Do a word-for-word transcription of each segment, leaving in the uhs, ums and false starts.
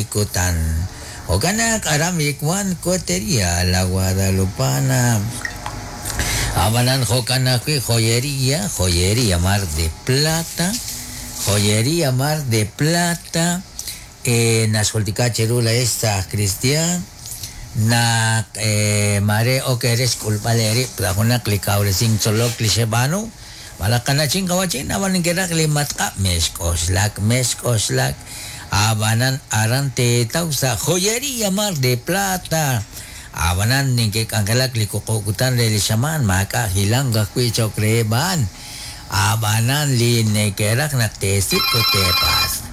li kutan. Jo'kan naq aran wan Cotería La Guadalupana. Ab'anan jo'kan ajwi' joyería, joyería Mar de Plata, joyería Mar de Plata, eh, naxjultika cheru la esta Cristian, naq eh, mare ok eres xk'ulb'al eerib' sa' junaq li kawresink tzolok li xeb'aanu, malaj qana'chin qawachin ab'an inkeraq li matq'ab' mexk'oxlak, mexk'oxlak, ab'anan aran teetaw sa' joyería Mar de Plata. Ab'anan ninkek'anjelak li wuqub' kutan re li xamaan maak'a' hilank ajwi' cho'q reheb' a'an. Ab'anan li neke'raj naq teesik' ut teepaatz'.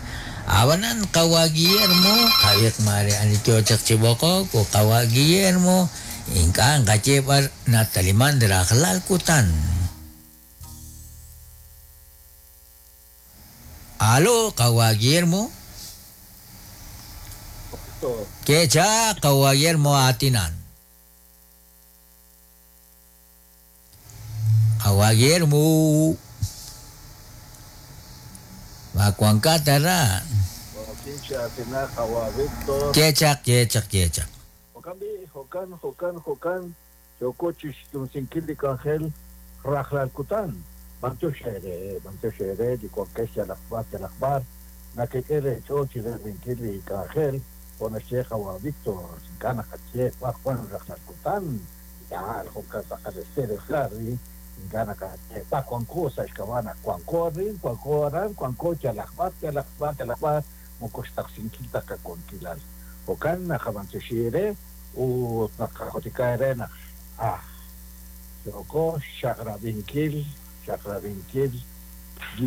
Ab'anan qawa' Guillermo, qawiq mare ani yo chaq chi b'oqok ut qawa' Guillermo ink'a' nqaye b'ar nataliman rajlal kutan. Alo, qawa' Guillermo. Kecha qawa' Guillermo aatinan. Qawa' Guillermo. Makuankata ra. Kechaq, kechaq, kechaq. Jo'kan bi, jo'kan, jo'kan, jo'kan, yooko chixtumsinkil li k'anjel rajlal kutan. B'antiox eere, b'antiox eere li wankex yalaq b'ar, yalaq b'ar, nakek'e reech'ool chi reerinkil li k'anjel, jo' naxye qawa' Víctor, ink'a' naqaye b'ar wan rajlal kutan, yaal jo'kan tz'aqal Estéreo Harry, ink'a' naqaye b'ar wanko sa' xk'ab'a' naq wanko arin, wanko aran, wanko yalaq b'ar, yalaq b'ar, yalaq b'ar, moko xtaqsinkil ta qawankilal. Jo'kan naqab'antioxi eere ut naqajultika eere naq ah, yooko xaqrabinkil, xaqrabinkil